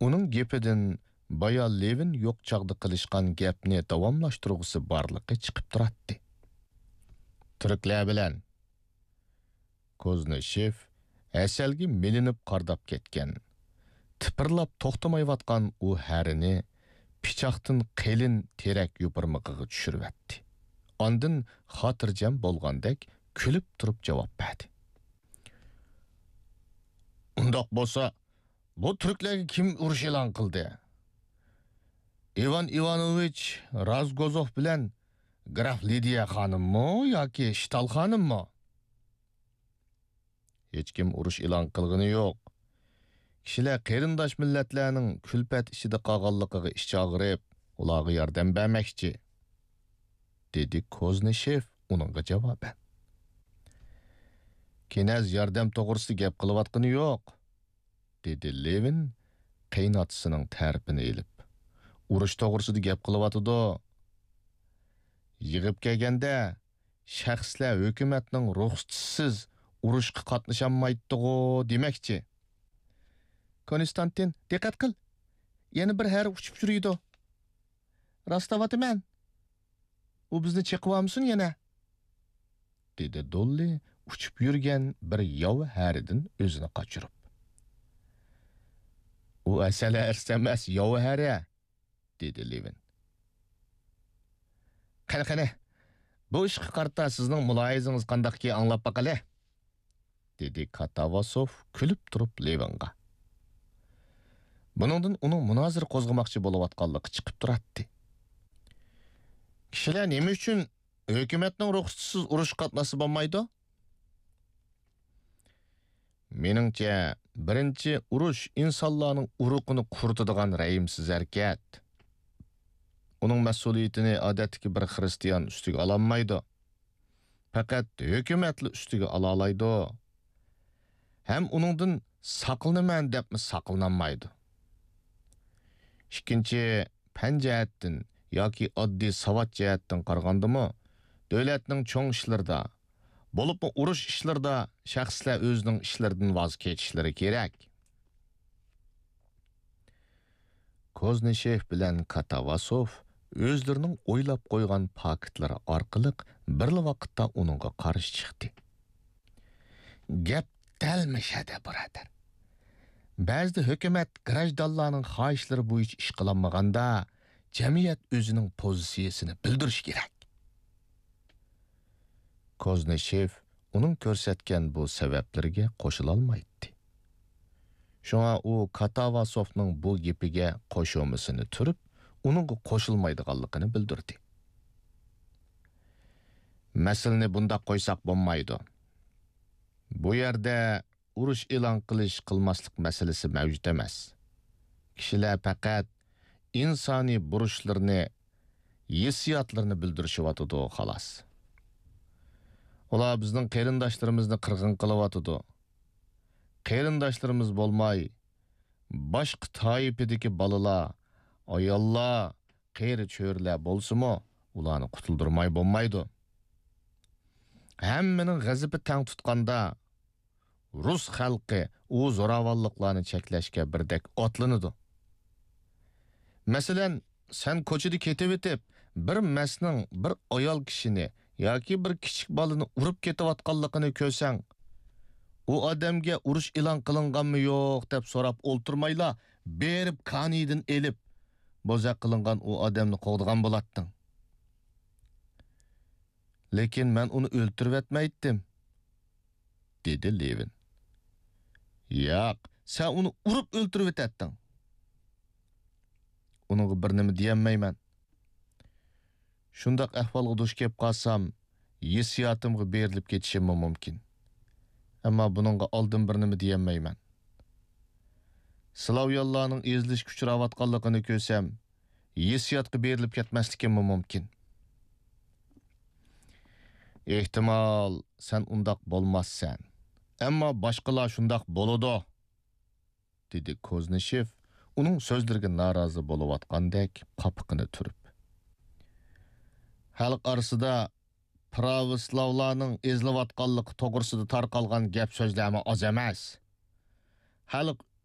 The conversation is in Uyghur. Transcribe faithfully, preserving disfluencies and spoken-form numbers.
ئۇنىڭ گېپىدىن بايا لېۋىن يوق چاغدا قىلىشقان گەپنى داۋاملاشتۇرغۇسى بارلىقى چىقىپ تۇراتتى. تۈركلەر بىلەن. كوزنىشېف ھەسەلگە مىلىنىپ قارىداپ كەتكەن، تىپىرلاپ توختىمايۋاتقان ئۇ ھەرىنى پىچاقتىن قېلىن تېرەك يوپۇرمىقىغا چۈشۈرۈۋەتتى. ئاندىن خاتىرجەم بولغاندەك كۈلۈپ تۇرۇپ جاۋاب بەردى. ئۇنداق بولسا، بۇ تۈركلەرگە كىم ئۇرۇش ئېلان قىلدى؟ ئىۋان ئىۋانوۋىچ رازگوزوف بىلەن گراف لىدىيە خانىممۇ ياكى شتال خانىممۇ؟ ھېچكىم ئۇرۇش ئېلان قىلغىنى يوق. كىشىلەر قېرىنداش مىللەتلەرنىڭ كۈلپەت ئىچىدە قالغانلىقىغا ئىچى ئاغرىپ، ئۇلارغا ياردەم بەرمەكچى، دېدى كوزنىشېف ئۇنىڭغا جاۋابەن. كىنەز ياردەم توغرىسىدا گەپ قىلىۋاتقىنى يوق، دېدى لېۋىن قېيىنئاتىسىنىڭ تەرىپىنى ئېلىپ. ئۇرۇش توغرىسىدا گەپ قىلىۋاتىدۇ. يىغىپ كەلگەندە، شەخسلەر ھۆكۈمەتنىڭ رۇخسىتىسىز ئۇرۇشقا قاتنىشالمايتتىغۇ دېمەكچى. كونستانتىن، دىققەت قىل! يەنە بىر ھەرە ئۇچۇپ يۈرىدۇ. راستلاۋاتىمەن. ئۇ بىزنى چېقىۋالمىسۇن يەنە، دېدى دوللى ئۇچۇپ يۈرگەن بىر ياۋا ھەرىدىن ئۆزىنى قاچۇرۇپ. ئۇ ھەسەل ھەرىسى ئەمەس، ياۋا ھەرە، دېدى لېۋىن. قېنى، قېنى، بۇ ئىشقا قارىتا سىزنىڭ مۇلاھىزىڭىز قانداقكى، ئاڭلاپ باقايلى، دېدى كاتاۋاسوف كۈلۈپ تۇرۇپ لېۋىنغا. بۇنىڭدىن ئۇنىڭ مۇنازىرە قوزغىماقچى بولۇۋاتقانلىقى چىقىپ تۇراتتى. كىشىلەر نېمە ئۈچۈن ھۆكۈمەتنىڭ رۇخسىتىسىز ئۇرۇشقا قاتناشسا بولمايدۇ؟ مېنىڭچە، بىرىنچى، ئۇرۇش ئىنسانلارنىڭ ئۇرۇقىنى قۇرۇتىدىغان رەھىمسىز ھەرىكەت. ئۇنىڭ مەسئۇلىيىتىنى ئادەتتىكى بىر خىرىستىيان ئۈستىگە ئالالمايدۇ. پەقەت ھۆكۈمەتلا ئۈستىگە ئالالايدۇ. ھەم ئۇنىڭدىن ساقلىنىمەن دەپمۇ ساقلىنالمايدۇ. ئىككىنچى، پەن جەھەتتىن ياكى ئاددىي ساۋات جەھەتتىن قارىغاندىمۇ، دۆلەتنىڭ چوڭ ئىشلىرىدا، بولۇپمۇ ئۇرۇش ئىشلىرىدا شەخسلەر ئۆزىنىڭ ئىشلىرىدىن ۋاز كېچىشلىرى كېرەك. كوزنىشېف بىلەن كاتاۋاسوف ئۆزلىرىنىڭ ئويلاپ قويغان پاكىتلىرى ئارقىلىق بىرلا ۋاقىتتا ئۇنىڭغا قارشى چىقتى. گەپ دەل مۇشەدە، بۇرادەر. بەزىدە ھۆكۈمەت گراژدانلارنىڭ خاھىشلىرى بويىچە ئىش قىلالمىغاندا، جەمئىيەت ئۆزىنىڭ پوزىتسىيىسىنى بىلدۈرۈشى كېرەك. كوزنىشېف ئۇنىڭ كۆرسەتكەن بۇ سەۋەبلىرىگە قوشۇلالمايتتى. شۇڭا ئۇ كاتاۋاسوفنىڭ بۇ گېپىگە قوشۇمىسىنى تۈرۈپ، ئۇنىڭغا قوشۇلمايدىغانلىقىنى بىلدۈردى. مەسىلىنى بۇنداق قويساق بولمايدۇ. بۇ يەردە ئۇرۇش ئېلان قىلىش، قىلماسلىق مەسىلىسى مەۋجۇت ئەمەس. كىشىلەر پەقەت ئىنسانىي بۇرچلىرىنى، ھېسسىياتلىرىنى بىلدۈرۈشۈۋاتىدۇ، خالاس. ئۇلار بىزنىڭ قېرىنداشلىرىمىزنى قىرغىن قىلىۋاتىدۇ. قېرىنداشلىرىمىز بولماي، باشقا تائىپىدىكى بالىلار، ئاياللار، قېرى-چۆرىلەر بولسىمۇ، ئۇلارنى قۇتۇلدۇرماي بولمايدۇ. ھەممىنىڭ غەزىپى تەڭ تۇتقاندا، رۇس خەلقى ئۇ زوراۋانلىقلارنى چەكلەشكە بىردەك ئاتلىنىدۇ. مەسىلەن، سەن كوچىدا كېتىۋېتىپ، بىر مەستنىڭ بىر ئايال كىشىنى ياكى بىر كىچىك بالىنى ئۇرۇپ كېتىۋاتقانلىقىنى كۆرسەڭ، ئۇ ئادەمگە ئۇرۇش ئېلان قىلىنغانمۇ يوق دەپ سوراپ ئولتۇرمايلا، بېرىپ كانىيىدىن ئېلىپ، بوزەك قىلىنغان ئۇ ئادەمنى قوغدىغان بولاتتىڭ. لېكىن مەن ئۇنى ئۆلتۈرۈۋەتمەيتتىم، دېدى لېۋىن. ياق، سەن ئۇنى ئۇرۇپ ئۆلتۈرۈۋېتەتتىڭ. ئۇنىڭغا بىر نېمە دېيەلمەيمەن. شۇنداق ئەھۋالغا دۇچ كېلىپ قالسام، ھېسسىياتىمغا بېرىلىپ كېتىشىممۇ مۇمكىن. ئەمما بۇنىڭغا ئالدىن بىر نېمە دېيەلمەيمەن. سلاۋيانلارنىڭ ئېزىلىشكە ئۇچراۋاتقانلىقىنى كۆرسەم، ھېسسىياتقا بېرىلىپ كەتمەسلىكىممۇ مۇمكىن. ئېھتىمال، سەن ئۇنداق بولماسسەن. ئەمما باشقىلار شۇنداق بولىدۇ، دېدى كوزنىشېف ئۇنىڭ سۆزلىرىگە نارازى بولۇۋاتقاندەك قاپىقىنى تۈرۈپ. خەلق ئارىسىدا پراۋوسلاۋلارنىڭ ئېزىلىۋاتقانلىقى توغرىسىدا تارقالغان گەپ سۆزلەرمۇ ئاز ئەمەس. خەلق